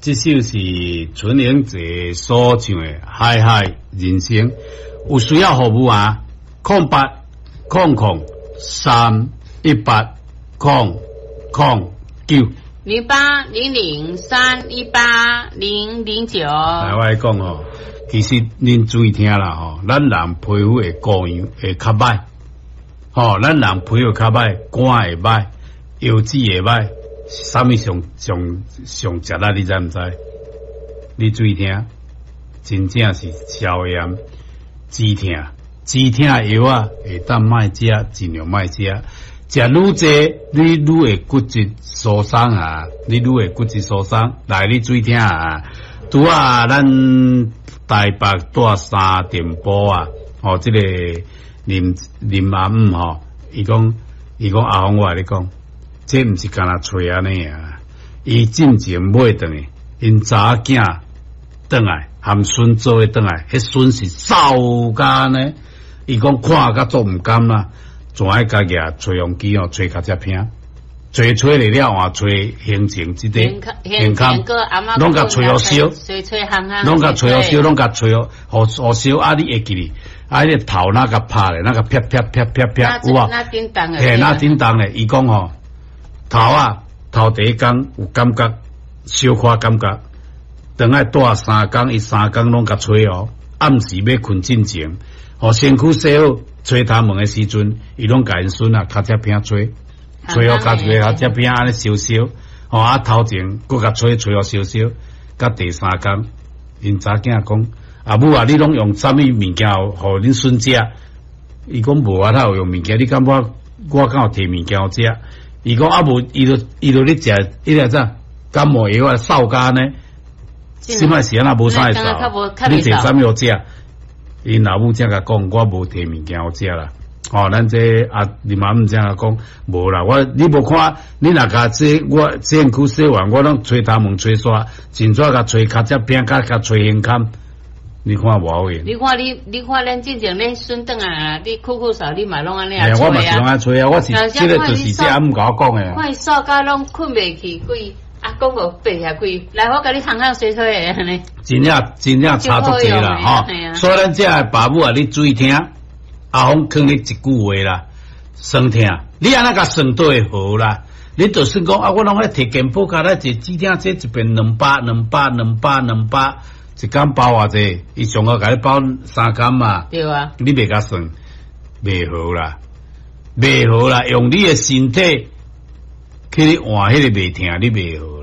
這首是陳英傑所唱的《海海人生》，有需要服務啊？080003180009。0800318009。來，我來講吼，其實恁注意聽啦吼，咱人皮膚會保養會較歹，吼，咱人皮膚較歹，肝會歹，腰子會歹，啥物上上上食力，你知毋知？你注意聽，真正是消炎止痛，止痛藥啊，會當莫食，盡量莫食。食愈濟，你愈會骨質疏鬆啊！你愈會骨質疏鬆。來，你注意聽啊！拄啊，咱台北蹛三重埔啊，吼，這個林林阿姆吼，伊講伊講阿峰，我共你講，這毋是干焦揣按呢啊！伊進前買轉去，𪜶查某囝轉來，含孫做伙轉來，彼孫是瘦甲按呢，伊講看甲足毋甘啦。怎愛共舉吹風機哦，吹跤跡坪，吹吹了了換吹形成這個健康，攏共吹予燒，攏共吹予燒，攏共吹予予燒啊！你會記哩？啊，彼個頭若共拍咧，若共啪啪啪啪啪，有無？嘿，若叮當咧，伊講吼，頭啊，頭第一工有感覺，小可感覺，轉來蹛3工，伊3工攏共吹哦，暗時欲睏進前，予身軀洗好。吹頭毛的時陣，伊攏共𪜶孫啊，跤跡坪吹，吹予跤一個跤跡坪按呢燒燒，吼啊頭前閣共吹吹予燒燒，到第三工，𪜶查囝講，阿母啊，你攏用啥物物件予恁孫食？伊講無啊，哪有用物件？你感覺我敢有提物件予食？伊講啊無，伊就伊就咧食，彼個啥感冒藥啊，瘦甲按呢，這擺是按怎無啥會瘦？你提啥物予食？𪜶老母才共講，我無提物件予食啦。吼，咱這啊林阿姆才共講，無啦。我你無看，你若共這我身軀洗完，我攏吹頭毛吹煞，真怎共吹跤跡坪，共共吹胸坎，你看無好用。你看你，你看咱進前恁孫轉來，你咳咳嗽，你嘛攏按呢啊吹啊。我嘛是攏按吹啊，我是這個就是這阿姆共我講的。看伊瘦甲攏睏袂去，規啊講個白遐規，來我共你烘烘吹吹的按呢。真正真正差足濟啦，吼！所以咱這个爸母啊，你注意聽，阿峰勸你一句話啦，酸痛，你按怎共算都會好啦。你就算講啊，我攏愛提健保卡來坐止痛劑，一遍兩百、兩百、兩百、兩百，一工包偌濟？伊上號共你包3工嘛？對啊。你袂共算，袂好啦，袂好啦，用你的身體去換彼個袂疼，你袂好。